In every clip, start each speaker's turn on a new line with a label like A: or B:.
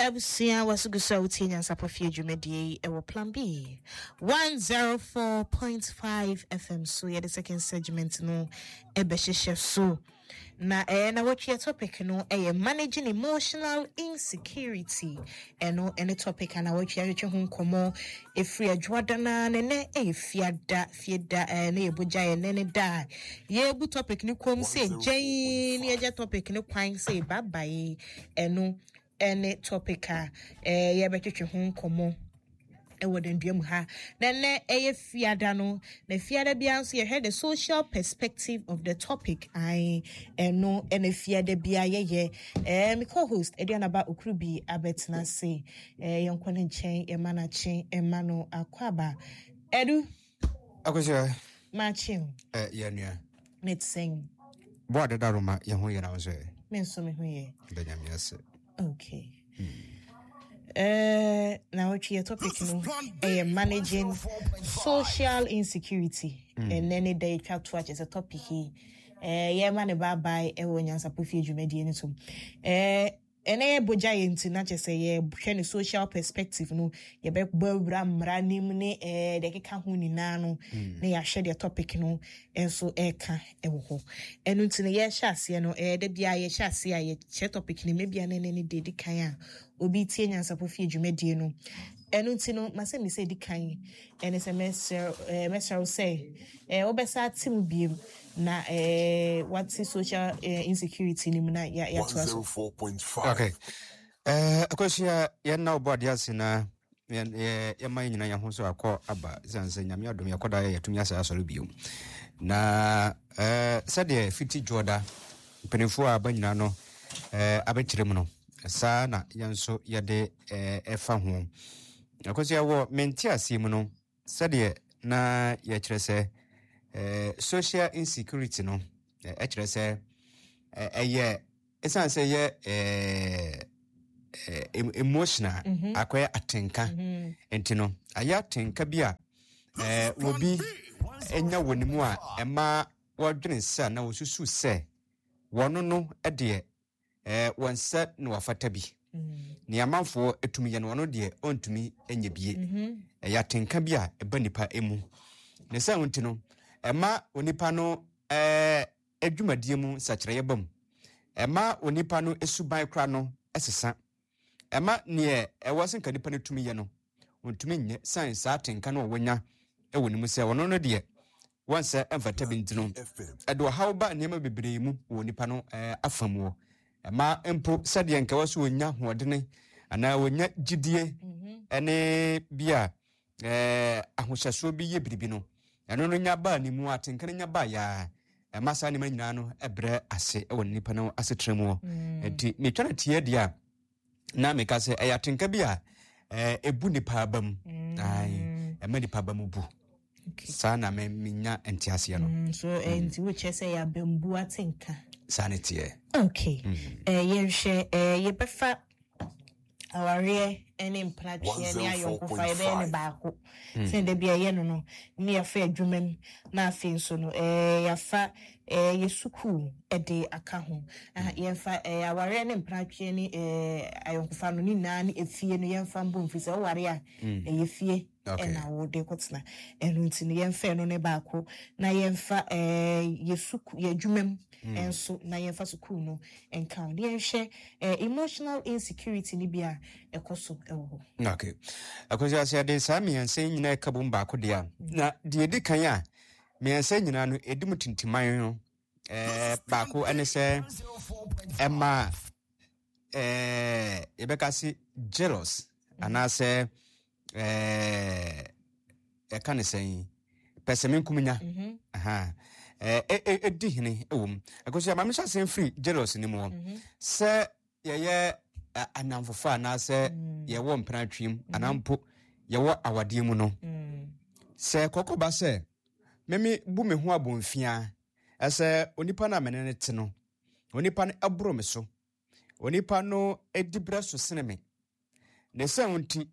A: Abusua waso gu so a wotie Nyansapɔ Fie dwumadie yi ɛwɔ Plan B 104.5 FM so. Yɛde second segment no ɛbɛhyehyɛ so. Na ɛyɛ na wɔtwe topic no ɛyɛ managing emotional insecurity. Ɛno ɛne topic a na wɔtwe ahwehwɛ ho nkɔmmɔ ɛfiri adwoada no na ɛnɛ ɛyɛ fiada fieda ɛɛ ne yɛbɔ gya ɛnɛ ne da a yɛbu topic no kɔm sɛ gyɛn ne yɛgya topic no kwan sɛ babae. Ɛno ɛne topic a ɛɛ yɛbɛtwetwe ho nkɔmmɔ ɛwɔ dandua mu ha. Na nnɛ ɛyɛ fiada no, na fiada biara nso yɛhwɛ the social perspective of the topic. Ae, ɛno ɛna fiada biara yɛyɛ. Me co-host Aduanaba Okurubi abɛtena ase. Yɛnkɔ ne nkyɛn, yɛma no akye, ɛma no akɔ aba. Edu.
B: Akosua.
A: Makye o.
B: Yɛ nua.
A: Ne te sɛn?
B: Bo adeda roma yɛn ho yɛ na wo nso ɛ?
A: Me nso me ho yɛ.
B: Da Nyame ase.
A: Okay. Na wɔtwe yɛ topic no ɛyɛ managing social insecurity. Ɛnɛ ne da yɛtwa to akyɛ sɛ topic yi yɛma ne baabae ɛwɔ Nyansapɔ Fie dwumadie no so. Ɛnɛ yɛ bogya yɛ nti na kyerɛ sɛ yɛhwɛ ne social perspective no, yɛbɛbɔ awura mmara nim ne deɛ ɛkeka ho nyinaa no, na yɛahwɛ deɛ topic no nso ɛreka ɛwɔ hɔ. Ɛno nti no yɛhyɛ aseɛ no, da biara yɛhyɛ aseɛ a yɛkyerɛ topic no mu, ebia ne ne deɛ ɛdi kan a obi tie Nyansapɔ Fie dwumadie no. Ɛno nti no masɛ mi sɛ ɛdi kan ɛne sɛ mɛsrɛ wo sɛ wobɛsa ate mu biem na wate social insecurity no mu na yɛatoa so.
B: 104.5. Okay. Akosua, yɛn na wobɔ adeɛ ase na yɛma yɛn nyinaa yɛn ho so akɔ aba, ɛsiane sɛ Nyame adom yɛkɔda yɛ yɛtumi asɛ asɔre bio. Na sɛdeɛ fiti dwoɔda mpanimfoɔ a aba nyinaa no abɛkyerɛ mu no, saa na yɛn nso yɛde ɛfa ho. Akosua, wɔ mente aseɛ mu no, sɛdeɛ na yɛkyerɛ sɛ social insecurity no ɛkyerɛ sɛ ɛyɛ ɛsiane sɛ ɛyɛ emotional, akɔyɛ atenka, nti no ayɛ atenka bi a obi anya wɔ ne mu a ɛma wɔdwene sɛ na wɔsusu sɛ wɔno no deɛ wɔn nsa na wafata bi, nea amanfoɔ tumi yɛ no ɔno deɛ ɔntumi nyɛ bie. Ɛyɛ atenka bi a ɛba nipa mu, ne sɛ nti no ɛma onipa no adwumadie mu nsakyerɛeɛ ba mu, ɛma onipa no suban kora no sesa, ɛma neɛ ɛwɔ sɛ nka nipa no tumi yɛ no ɔntumi nyɛ, san saa atenka no a wɔnya wɔ ne mu sɛ ɔno no deɛ wɔnsɛ mfata bi nti no ɛde ɔhaw ba nneɛma bebree mu wɔ nipa no afa mu. Ɛma mpo sɛdeɛ nka wɔ so wɔnya ahoɔdene anaa wɔnya gyidie ɛne bi a ahohyɛsoɔ bi yɛ biribi no, ɛno no nya baa ne mu, atenka no nya baa yaa, ɛma saa nneɛma nyinaa no ɛbrɛ ase wɔ nipa no asetena mu. Nti metwa no tie deɛ a na meka sɛ ɛyɛ atenka bi a ɛbu nipa aba mu, ɛma nipa aba mu bu. Saa na menya nteaseɛ no.
A: So nti wokyerɛ sɛ yɛ abambu atenka?
B: Saa ne teɛ.
A: Okay. Yɛnhwɛ, yɛbɛfa awareɛ ne mpenatweɛ ne ayɔnkofa, yɛbɛyɛ no baako sɛ da bi a ɛyɛ no ne yɛafa adwuma mu, na afei nso no yɛafa yɛ sukuu de aka ho. Yɛmfa awareɛ ne mpenatweɛ ne ayɔnkofa no ne nyinaa ne efie no yɛmfa mbɔ mfiri sɛ woware a ɛyɛ fie ɛna wode kɔtena. Ɛno nti no yɛmfa ɛno ne baako na yɛmfa yɛ sukuu, yɛ adwuma mu nso, na yɛmfa sukuu no nka ho. De yɛnhwɛ emotional insecurity no bi a ɛkɔ so ɛwɔ hɔ.
B: Okay. Akosua, sɛ yɛde saa mmiɛnsa yi nyinaa ɛka bom baako deɛ a, na deɛ ɛdi kan a mmiɛnsa nyinaa no ɛdi mu tintiman no baako ɛne sɛ ɛma yɛbɛka se jealous anaasɛ ɛka ne sɛn pɛsɛmenkominya ɛdi hene wɔ mu. Akosua, ma mehyɛ asɛm firi jealous no mu hɔ. Sɛ yɛyɛ anamfofa anaasɛ yɛwɔ mpenatwem anaa mpo yɛwɔ awadeɛ mu no, sɛ kɔkɔba sɛ meme bu me ho abɔmfia ɛsɛ onipa no a mene no te no, onipa no ɛboro me so, onipa no ɛdi berɛ so sene me, ne sɛ nti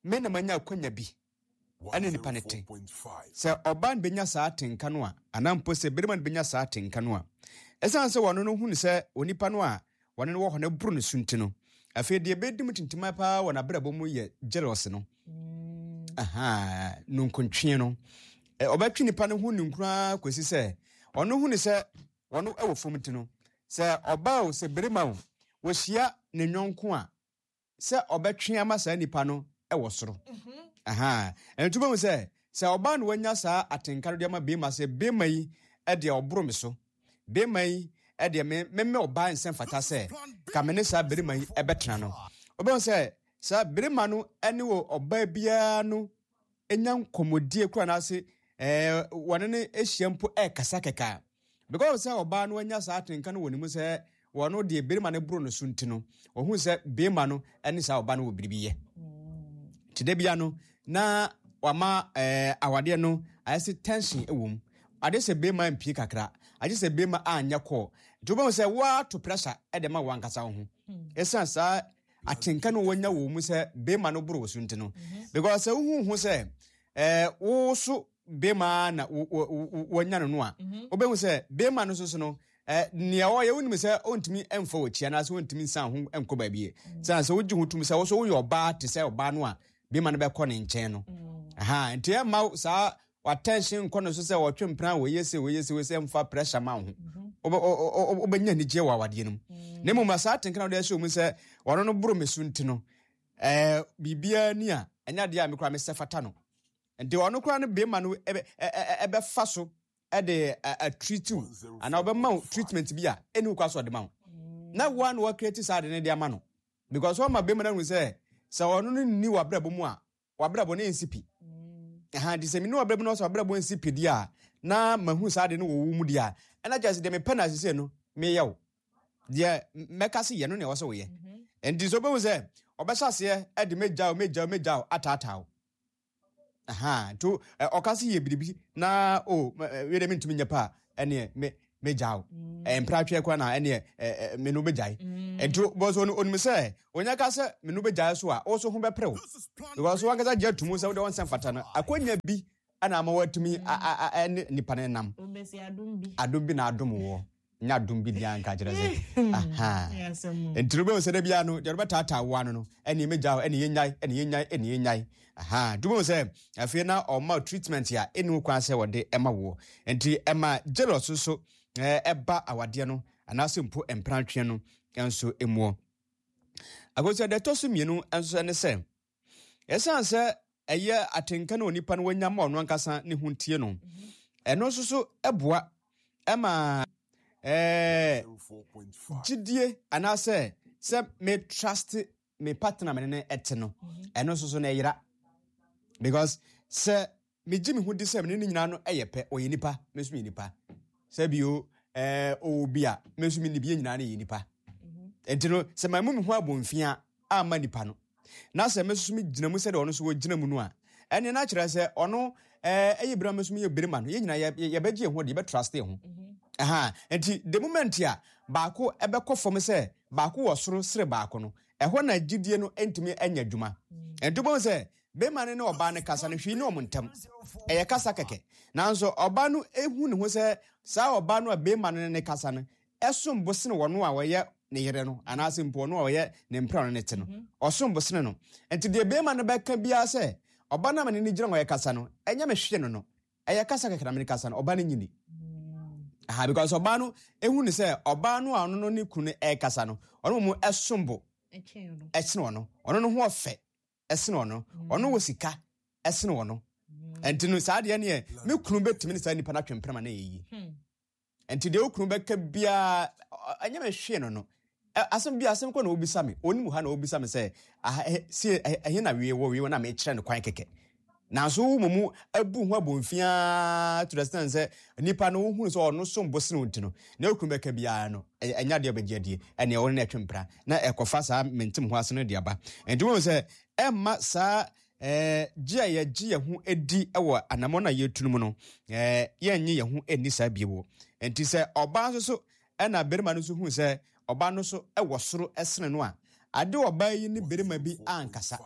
B: me na manya akwanya bi ɛne nipa no te. Sɛ ɔbaa no bɛnya saa atenka no a, anaa mpo sɛ barima no bɛnya saa atenka no a, ɛsiane sɛ wɔno no hunu sɛ onipa no a wɔne no wɔ hɔ no boro no so nti no, Afei deɛ ɛbɛdi mu tintima paa wɔ n'abrabɔ mu yɛ jealous no. Aha, nunkuntwe no. Ɔbɛtwe nipa no ho ninkunu ara kɔsi sɛ ɔno hu ne sɛ ɔno wɔ fam nti no, sɛ ɔbaa o, sɛ barima o, wɔhyia ne yɔnko a, sɛ ɔbɛtwe ama saa nipa no wɔ soro. Aha. Ɛno nti wobɛhu sɛ, sɛ ɔbaa na wanya saa atenka no de ama barima sɛ barima yi deɛ ɔboro me so, barima yi deɛ me me ɔbaa nsɛ mfata sɛ ka me ne saa barima yi ɛbɛtena no. Wobɛhu sɛ saa barima no ne wɔ ɔbaa biara no nya nkɔmmɔdie koraa anaase ɛɛ wɔne no ahyia mpo ɛrekasa kɛkɛ a, because sɛ ɔbaa no anya saa atenka no wɔ ne mu sɛ wɔno deɛ barima no boro no so nti no, ɔhu sɛ barima no ne saa ɔbaa no wɔ biribi yɛ. Nti da bia no na wama ɛɛ awadeɛ no ayɛ sɛ tension wɔ mu. Ade sɛ barima mpie kakra, agye sɛ barima anyɛ kɔɔ. Nti wobɛhu sɛ woato pressure de ma wo ankasa wo ho. Ɛsiane saa atenka no wɔnya wɔ mu sɛ bema no boro wo so nti no because sɛ wohu ho sɛ wo so bema na wɔnya no no a wobɛhu sɛ bema no so no nea ɔyɛ wonim sɛ ɔntumi mfa w'akyi anaasɛ ɔntumi nsan ho nkɔ baabi sɛ sɛ wogye ho tom sɛ wo so woyɛ ɔbaa te sɛ ɔbaa no a bema no bɛkɔ ne nkyɛn no aha nti ɛmma saa w'attention nkɔ no so sɛ ɔtwe mpena wɔyɛ se wɔyɛ se wɔyɛ se mfa pressure ma wo ho wobɛnya anigyeɛ wɔ awadeɛ no mu na mmom saa atenka na wode ahyɛ mu sɛ ɔno no boro me so nti no ɛɛ biribiara ni a ɛnyɛ adeɛ a me koraa mesɛ fata no nti ɔno koraa no bɛrima no ɛbɛfa so ɛde atreat wo anaa ɔbɛma wo treatment bi a ɛni wo kwa so ɔde ma wo na woa na wɔakreti saa ade no de ama no because wɔma bɛrima no ahu sɛ sɛ ɔno no nni w'abrabɔ mu a w'abrabɔ no nsi pi. Ɛha nti sɛ mene w'abrabɔ no sɛ w'abrabɔ nsi pi deɛ a na mahu saa ade no wɔ wo mu deɛ a ɛna kyerɛ sɛ deɛ mepɛ no asese no meyɛ wo deɛ mɛka sɛ yɛ no na ɛwɔ sɛ woyɛ. Nti sɛ wobɛhu sɛ ɔbɛhyɛ aseɛ de mɛgya wo mɛgya wo mɛgya wo ataataa wo. Aha nti ɔka sɛ yɛ biribi na o wei deɛ mentumi nyɛ paa ɛneɛ me megya wo mpratweɛ koraa na ɛneɛ me no bɛgyae. Nti bɔsɛ onim sɛ onya ka sɛ me no bɛgyae so a wo so ho bɛpere wo because wankasa gye atum sɛ wode wo nsɛm fata no akwanya bi ɛna ama watumi ɛne nipa no nam adom bi na adom woɔ nyɛ adom bi deɛ anka kyerɛ sɛ aha nti no bɛhu sɛ da biara no deɛ wobɛtaataa wo ano no ɛne mɛgya wo ɛne yɛnyae ɛne yɛnyae ɛne yɛnyae aha nti wobɛhu sɛ afei na ɔma treatment a ɛni wo kwan sɛ wɔde ɛma woɔ nti ɛma jealous nso ɛba awadeɛ no anaasɛ mpo mprantweɛ no nso muɔ akosua deɛ ɛtɔ so mmienu nso ne sɛ ɛsiane sɛ ɛyɛ atenka no onipa no wanya ma ɔno ankasa ne ho ntie no ɛno nso so ɛboa ɛma ɛɛ gyidie anaasɛ sɛ me trust me partner me ne no ɛte no ɛno nso so na ɛyera because sɛ megye me ho di sɛ me ne no nyinaa no ɛyɛ pɛ ɔyɛ nipa me nso meyɛ nipa sɛ bio ɛɛ ɔwɔ bi a me nso me ni bi yɛ nyinaa no yɛ nipa nti no sɛ maa mu me ho abɔnfia amma nipa no na sɛ me nso megyina mu sɛdeɛ ɔno nso wɔgyina mu no a ɛne na kyerɛ sɛ ɔno ɛyɛ birima me nso meyɛ birima no yɛn nyinaa yɛbɛgye yɛn ho de yɛbɛtraste yɛn ho ɛha nti the moment a baako ɛbɛkɔ fam sɛ baako wɔ soro sere baako no ɛhɔ na gyidie no ntumi anya adwuma nti wobɛhu sɛ bɛrima no ne ɔbaa no kasa no hwee ne ɔmo ntam ɛyɛ kasa kɛkɛ nanso ɔbaa no ehu ne ho sɛ saa ɔbaa no a bɛrima no ne ne kasa no ɛsom bo sene wɔn a wɔyɛ ne yere no anaasɛ mpo ɔno a ɔyɛ ne mpena no ne te no ɔsom bo sene no nti deɛ bɛrima no bɛka biara sɛ ɔba no a mene ne gyina hɔ ɛkasa no ɛnyɛ me hwee no no ɛyɛ kasa kɛkɛ na mene kasa no ɔba no nyini aha because ɔbaa no ehu ne sɛ ɔbaa no a ɔno no ne kunu no ɛkasa no ɔno mu ɛsom bo ɛkyene ɔno ɔno no ho ɔfɛ ɛsene ɔno ɔno wɔ sika ɛsene ɔno nti no saa deɛ neɛ me kunu bɛtumi ne saa nipa no atwe mpena ma no ɛyɛ yie Nti deɛ wo kunu bɛka biara ɛnyɛ me hwee no no asɛm bi asɛm kɔ na obisa me onim ha na obisa me sɛ sie ɛhe na wie wɔ wie wɔ na mekyerɛ no kwan kɛkɛ nanso wo mu abu ho abomfiaa to the extent sɛ nipa no wohunu sɛ ɔno som bo sene wo nti no na wo kunu bɛka biara no ɛnyɛ adeɛ ɔbɛgye adie ɛneɛ wo ne no ɛtwe mpra na ɛkɔfa saa mentem ho ase no de aba nti wohu sɛ ɛmma saa Gye a yɛgye yɛn ho di wɔ anammɔn a yɛretu no mu no, yɛnnye yɛn ho nni saa bio. Enti sɛ ɔbaa nso so na barima no nso hu sɛ ɔbaa no nso wɔ soro sene no a, ade ɔbaa yi ne barima bi ankasa.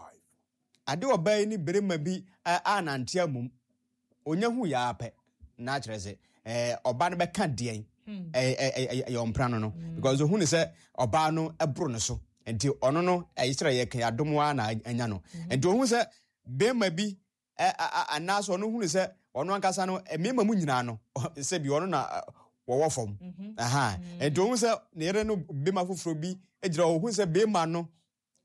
B: Ade ɔbaa yi ne barima bi anante amom. Onya hu yɛ ara pɛ na akyerɛ sɛ ɔbaa no bɛka deɛn ɛyɛ ɔmpra no no because ohun sɛ ɔbaa no boro no so. Nti ɔno no ɛyi sɛ yɛka adom ara na anya no. Nti ohun sɛ bɛrima bi anaasɛ ɔno hunu sɛ ɔno ankasa no mmarima mu nyinaa no, sɛ bi ɔno na wɔwɔ fam. Aha. Nti ohun sɛ ne yere no bɛrima foforɔ bi gyina hɔ, ohun sɛ bɛrima no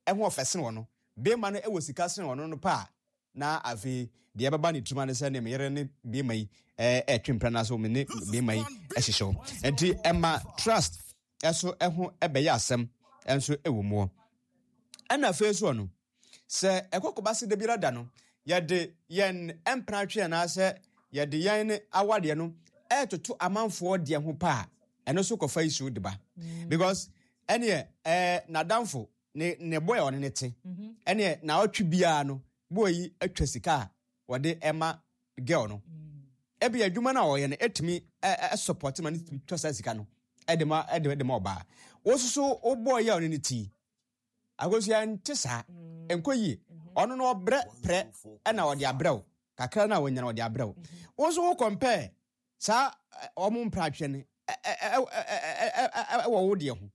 B: ɛho ɔfɛ sen ɔno, bɛrima no ɛwɔ sika sen ɔno no pa a, na afei deɛ ɛbɛba ne tirim ne sɛ ne yere ne bɛrima yi ɛtwe mpena na so me ne bɛrima yi ɛhyehyɛ hɔ. Nti ɛma trust ɛso ɛho ɛbɛyɛ asɛm ɛnso ɛwɔ mu. Ɛna afei nso ɔno sɛ ɛkɔkɔba se da biara da no yɛde yɛn mpena twe anaasɛ yɛde yɛn awadeɛ no ɛɛtoto amanfoɔ deɛ ho pa a, ɛno nso kɔfa issue de ba, because ɛneɛ n'adamfo ne boy a ɔne ne te, ɛneɛ na ɔtwe biara no, boy yi atwa sika a wɔde ɛma girl no. Ebi adwuma no a ɔyɛ no etumi ɛ support ma ne tumi twa saa sika no ɛde ma ɛde ma ɔbaa. Wososo wo boy a ɔne ne ti akosua nte saa, nkɔ yie. Ɔno no ɔbrɛ prɛ ɛna ɔde abrɛ wo kakra no a wɔnya no, ɔde abrɛ wo. Wo nso wo compare saa ɔmo mpratwe no ɛwɔ wo deɛ ho.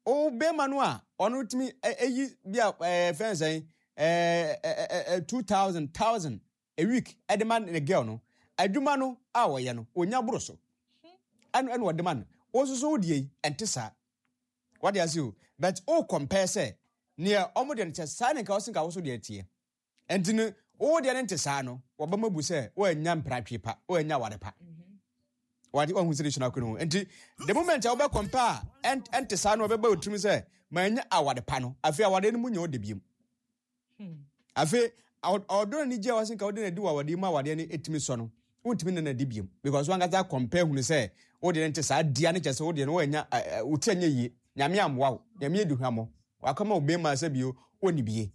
B: Wo bɛrima no a ɔno tumi ɛyi bi a fɛn sɛn ɛɛ ɛɛ 2,000 thousand a week ɛde ma ne girl no, adwuma no a ɔyɛ no onya boro so ɛno ɛna ɔde ma no. Wo nso so wo deɛ yi ɛnte saa, wɔde ase o, but o compare sɛ nea ɔmo deɛ no kyɛ saa ne nka ɔsi nka woso deɛ teɛ. Nti no wo deɛ no nte saa no, wɔbɛma bu sɛ wɔanya mpratwe pa, wɔanya aware pa. Wɔde wɔn ho sɛ de akɔ ne ho. Nti the moment a wobɛ compare a ɛnte saa no, wɔbɛba otirim sɛ manya aware pa no. Afei aware no mu nyɛ ɔde biem. Afei ɔdɔ no anigye a wɔse nka wode no adi wɔ awadeɛ mu, awadeɛ no ɛtumi sɔ no, wontumi ne no adi biom, because wankasa compare hunu sɛ wodeɛ no nte saa dia no, kyɛ sɛ wodeɛ no woanya wo ti anyɛ yie, Nyame ammoa wo, Nyame adi hwammɔ, wakɔma wo bɛrima sɛ bio ɔnni bie.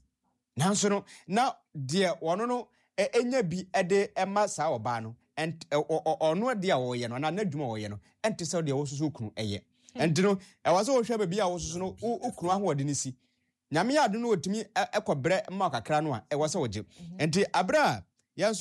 B: Nanso no na deɛ ɔno no ɛnya bi de ɛma saa ɔbaa no, ɔno deɛ a ɔyɛ no anaa n'adwuma a ɔyɛ no ɛnte sɛ deɛ wososo kunu ɛyɛ. Ɛnti no ɛwɔ sɛ wohwɛ baabi a wososo no wo kunu ahoɔden no si. Nyame yɛ adom no wɔtumi ɛkɔ brɛ ma kakra no a, ɛwɔ sɛ wogye. Nti aberɛ a yɛn nso